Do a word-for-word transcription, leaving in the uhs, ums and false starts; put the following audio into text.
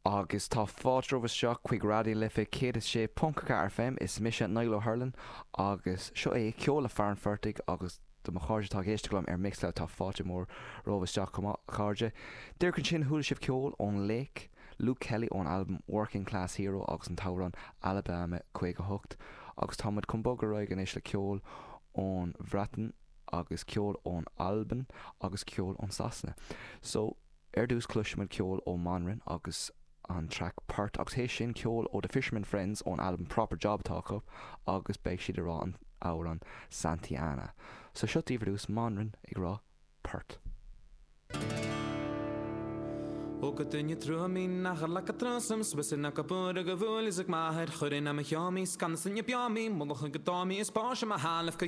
Agus tá fáilte romhaibh isteach chuig Raidió na Life céad is sé ponc ceathair FM is mise Niall Ó hUrlain agus seo é ceol le fear an phortaigh agus do mo chairde atá ag éisteacht liom ar Mixcloud tá fáilte mór romhaibh isteach chomh maith chairde. Díreach ansin chuala sibh ceol ón Lake, Luke Kelly ón albam Working Class Hero agus an t-amhrán Alabama caoga hocht agus táimid chun bogadh ar aghaidh anois le ceol ón Bhreatain agus ceol ón Albain agus ceol ón Sasana. So ar dtús cloisfimid ceol ó Manran agus an track Port agus théis sin ceol ó The Fisherman Friends ón album Proper Job atá acu agus beidh siad ag rá an amhrán Santiana. So seo daoibh ar dtús Manran ag rá Port. Ó go duine trúí nach le go trasam, Swiss na go búr go bhúil is ag maithair chuin am cheáí scan san beáí, mu chu go dáí is bá ma hálah go